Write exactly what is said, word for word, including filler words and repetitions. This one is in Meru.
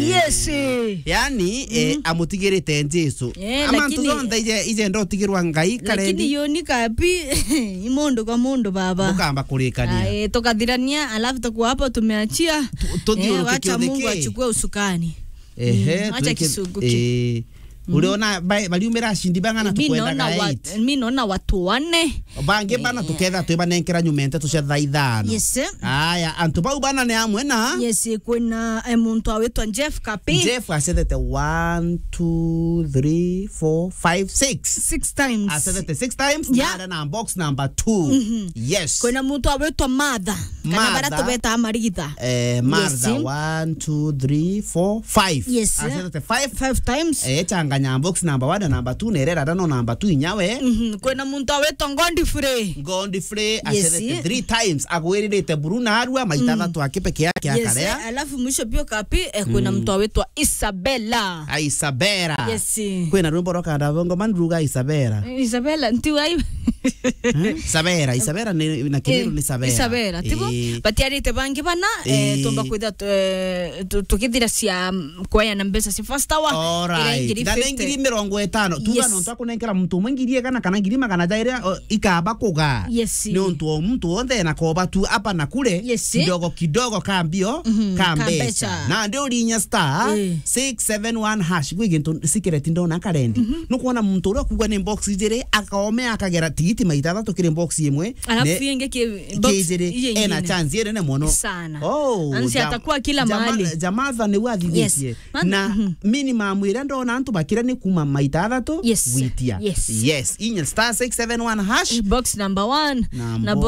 Yes. Yani, eh, amutigirite Jesu. Eh, ama lakini ntu zonthe ije, ije ndotigirwa Ngai karendi. Lakini yoni kapi, i mundu kwa mundu, baba. Bukamba kurikania. Ai, tukathirania, alafu tukuwa hapo tumeachia. Tu-, tuthiuruke. Eh, wacha Mungu achukue usukani. Ehe, mm, acha tuweke kisungu ki. Eh, uriona ba-, bariumira ashindi bang'ana? Mi tukwenda naona wa-, eight. Mi naona watu wane. Bangi bana, eh, tuketha twibanenkera nyuma nteto cia thaa ithano. Yes. Aya, antu bau bana ni amwe na? Yes, kwina, eh, muntu awitwa Jeff Kapi. Jeff acethete one, two, three, four, five, six. Six times. Acethete six times, yeah, na ari na box number two. Mhm. Yes. Kwina muntu awitwa Martha. Kana bara Martha. Tubeta Maritha. Eh, Martha, yes, one, two, three, four, five. Yes. Acethete five. Five times. Eh, changanya box number one na number two, na irera no number two inyawe. Mhm. Kwina muntu awitwa Godfrey. Godfrey, yes, acethete three times. Agwiririte buru na arua, maita, mm, thatu aki peke yake, yes, akarea. Alafu mwisho pio Kapi, eh, kwina, mm, muntu awitwa Isabella. Ah, Isabella. Yes. Kwina rwimbo rwa kanda bongo man ruga Isabella. Isabella, nti wai. Eh? Isabella, Isabella ni, na Kimiru, eh, ni Isabella. Isabella, tibo? Eh. Batiarite bangi bana, eh, eh, tumba kwitha tu-, eh, tu-, tukithira cia, mm, kueana mbeca cia first hour. Alright. Ira ngiri fifty. Na ni ngiri mirongo itano. Tuga, yes, no twakunenkera muntu umwe ngiri igana kana ngiri magana jairi, o, ikaba kuga. Yes. Ni untu o muntu wonthe na koba tu hapa na kule, yes, kidogo kidogo ka mbio, mhm, ka mbeca. Ka mbeca. Na ndi urinya star, eh, six seven one hash, gwi gintu secret ndona karendi. Mhm. Nukwona muntu uria kugwa ni box ijiri, akaome akagera tigiti maita thatu kiri box imwe. Alafu ne-, ingi ki-, box ijiri, iyo ena ingine chance iri nene mono. Sana. Oh, ansi ja-, atakuwa kila ja-, mahali. Jamatha ni wathithitie. Yes. Man-, na, mhm, minimum iria ndona antu bakira ni kuma maita athatu, yes, gwitia. Yes. Yes. Inya star six seven one hash. Box number one. Na na box